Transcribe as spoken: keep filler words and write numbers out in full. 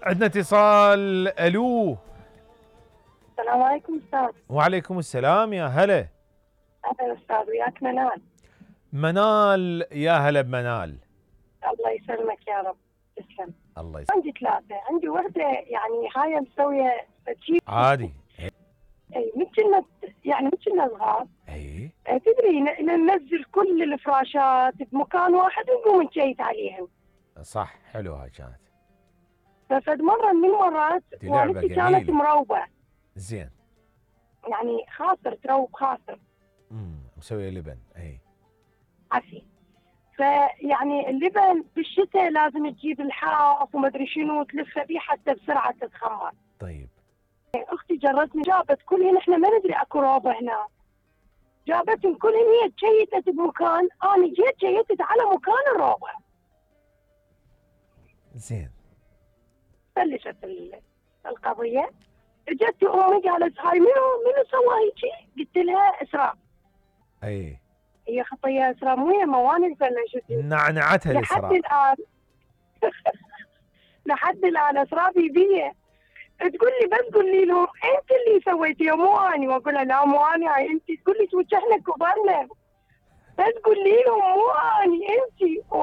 عندنا اتصال. الو. السلام عليكم استاذ. وعليكم السلام، يا هلا. اهلا استاذ، وياك منال. منال، يا هلا بمنال. الله يسلمك يا رب. تسلم. الله يسلمك. عندي ثلاثة، عندي وحدة يعني هاي مسوية تجيب عادي. اي مثل يعني مثل صغار. اي تدري ننزل كل الفراشات بمكان واحد ونقوم نجيت عليهم. صح، حلو هاي كانت. ففد مرة من المرات لعبة والدتي كانت جميلة. مروبة. زين. يعني خاطر تروب خاطر. امم مسوية لبن. اي عفي. فيعني اللبن بالشتاء لازم تجيب الحاف وما ادري شنو وتلفه بيه حتى بسرعه تتخمر. طيب. اختي جرتني جابت كلهن، احنا ما ندري اكو روبه هنا. جابتهم كلهن، هي تشيتت بمكان، انا جيت شيتت على مكان الروبه. زين. بلشت القضيه. اجت امي قالت هاي منو منو سوى هيجي؟ قلت لها اسراء. اي هي خطيه اسراء، مو هي موانئ بلشت نعنعتها لحد الاسراء. الان. لحد الان اسراء بيبيه تقول لي، بس قولي لهم انت اللي سويتيه مو اني، واقول لها لا مو اني، هاي انت. تقول لي توجهنا كبرنا، بس قولي لهم مو اني انت.